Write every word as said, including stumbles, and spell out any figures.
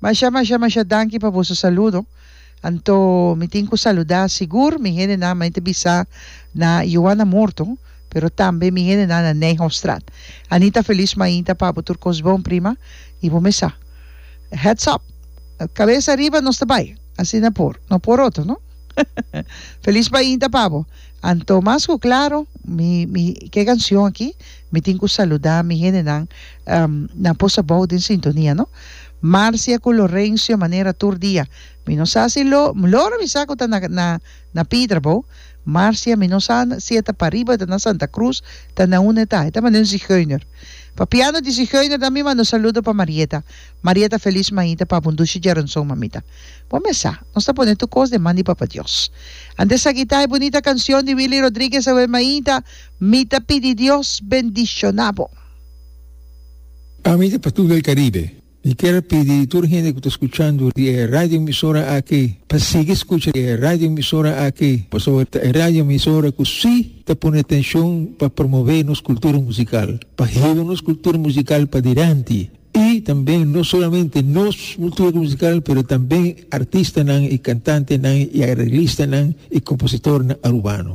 Masha, masha, masha danki pa boso saludo. Anto mi tin ku saludá sigur mi hendenan mi ta bisa na Joana Morto, pero tambe mi hendenan na Nijhofstraat. Anita felis mainta pa bo tur kos bon prima i bo mesa. Heads up! Kabes ariba nos ta bai. Asina por, no por otro, no? Felis mainta pa bo. Anto mas ku klaro mi mi ke kanshon aki mi tin ku saludá mi hendenan na Pos Abou den sintonia no. Marcia ku Lorencio manera tur dia mi no sa si lo Loro mi sa ku ta na na na Pidra bo Marcia mi no sa si e ta pariba ta na Santa Cruz ta na unda e ta e ta manda un zigeuner papiando di zigeuner ta mi manda un saludo pa Marieta Marieta felis mainta pa bo un dushi djaranson mamita bo me sa nos ta pone tur kos den man di Papa Dios antes aki ta e bunita cancion di Willy Rodriguez awe mainta mi ta pidi Dios bendiciona bo. Ami ta Patul del Caribe. Mi kier pidi tur hende ku ta skuchando di e radio emisora aki pa sigui skucha e radio emisora aki pasobra ta e radio emisora ku si ta pone atenshon pa promove nos kultura musikal, pa hiba nos kultura musikal padilanti i tambe no solamente nos kultura musikal pero tambe artistanan i kantantenan i areglistanan i kompositornan arubano.